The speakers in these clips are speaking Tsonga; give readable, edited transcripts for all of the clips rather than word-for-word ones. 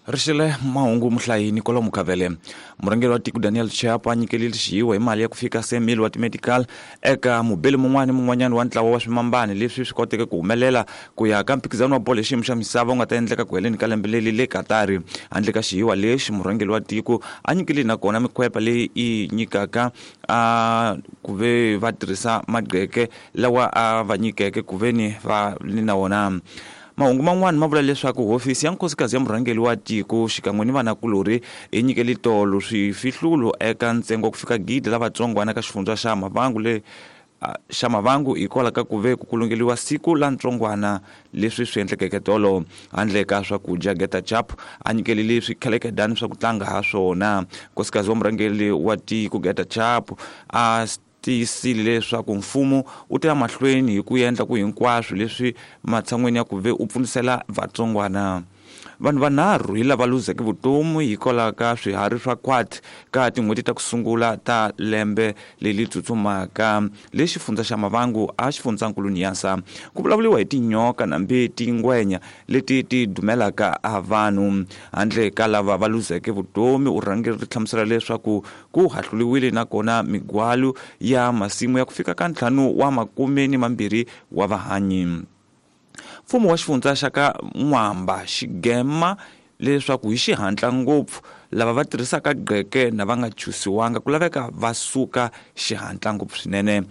Rixile mahungu muhlayi Nicola Mukhavele. Murhangeri wa tiko Daniel Chapo a nyikelile xihiwa hi mali ya ku fika 100 wa timedical eka mubeli mun'wana ni mun'wanyana wa ntlawa wa swimambani leswi swi koteke ku humelela ku ya ka mphikizano wa bolo hi xiyimo xa misava wu nga ta endleka ku heleni ka lembe leri le Katari. Handle ka xihiwa lexi, murhangeri wa tiko a nyikile nakona mikhwepa leyi yi nyikaka a ku ve va tirhisa magqeke lawa a va nyikeke ku ve ni va ni na wona. Mahungu man'wana ma vula leswaku hofisi ya nkosikazi ya murhangeri wa tiko xikan'we ni vanakulorhi yi nyikele tolo swifihlulo eka ntsengo wa ku fika gidi la vatsongwana ka xifundza xa Mavangu le xa Mavangu hikwalaho ka ku ve ku kulungeliwa siku la ntsongwana leswi swi endlekeke tolo. Handle ka swakudya, Geta Chap a nyikelile swikhelekedani swa ku tlanga ha swona. Nkosikazi wa murhangeri wa tiko Geta Chap a tiyisile leswaku mfumo wu ta ya mahlweni hi ku endla ku hinkwaswo leswi matshan'weni ya ku ve u pfunisela vatsongwana. Vanhu vanharhu hi lava luzeke vutomi hikwalaho ka swiharhi swa khwati ka tin'hweti ta ku sungula ta lembe leri tsutsumaka le xifundza xa Mavangu a xifundzankulu Niassa. Ku vulavuriwa hi tinyoka nambi tingwenya leti ti dumelaka a vanhu. Handle ka lava va luzeke vutomi, urhangeri ri hlamusela leswaku ku hahluliwile nakona migwalu ya masimu ya ku fika ka ntlhanu wa makume ni mambirhi wa vahanyi. Mfumo wa xifundza xa ka N'wamba xigema leswaku hi xihatla ngopfu lava va tirhisaka gqeke na va nga chusiwanga ku laveka va suka xihatla ngopfu swinene.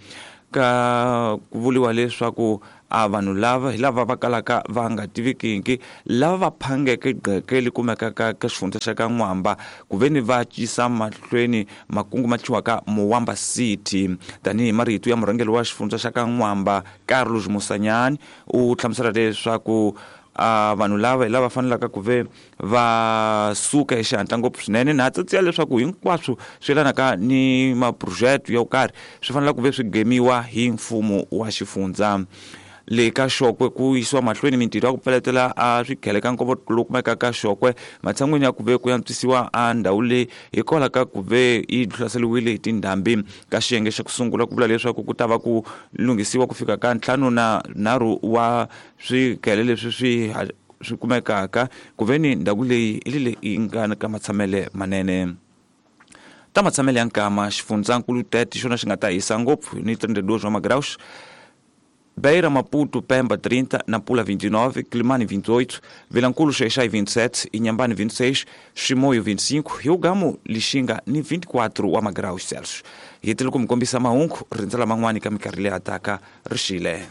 Ka ku vuriwa leswaku a vanhu lava hi lava va kalaka va nga tivikiki lava va phangeke gqeke li kumekaka ka xifundza xa ka N'wamba ku ve ni va yisa mahlweni makungu ma thyiwaka Muwamba City. Tanihi marito ya murhangeri wa xifundza xa ka N'wamba Carlos Musanyani u hlamusela leswaku a vanhu lava hi lava fanelaka ku ve va suka hi xihatla ngopfu swinene na tsatsiya leswaku hinkwaswo swi yelanaka ni maphurojete yo karhi swi fanele ku ve swi gemiwa hi mfumo wa xifundza. Le ka Xokwe ku yisiwa mahlweni mintirho ya ku pfaletela a swikhele ka nkova lowu kumekaka ka Xokwe matshan'wini ya ku ve ku antswisiwa a ndhawu leyi hikwalaho ka ku ve yi hlaseriwile hi tindhambi. Ka xiyenge xa ku sungula ku vula leswaku ku ta va ku lunghisiwa ku fika ka 53 wa swikhele leswi swi kumekaka ku ve ni ndhawu leyi i leyi yi nga ka matshamele manene. Ta matshamele ya nkama xifundzankulu Tete xona xi nga ta hisa ngopfu ni 32 wa magraus, Beira, Maputo, Pemba 30, Nampula 29, Quelimane 28, Vilankulo, Xai-Xai 27, Inhambane 26, Chimoio 25, Hugamu, Lixinga ni 24 wa magraus Celsius. Hi tile ku mi kombisa mahungu rindzela man'wani ka minkarhi leyi hataka rixile.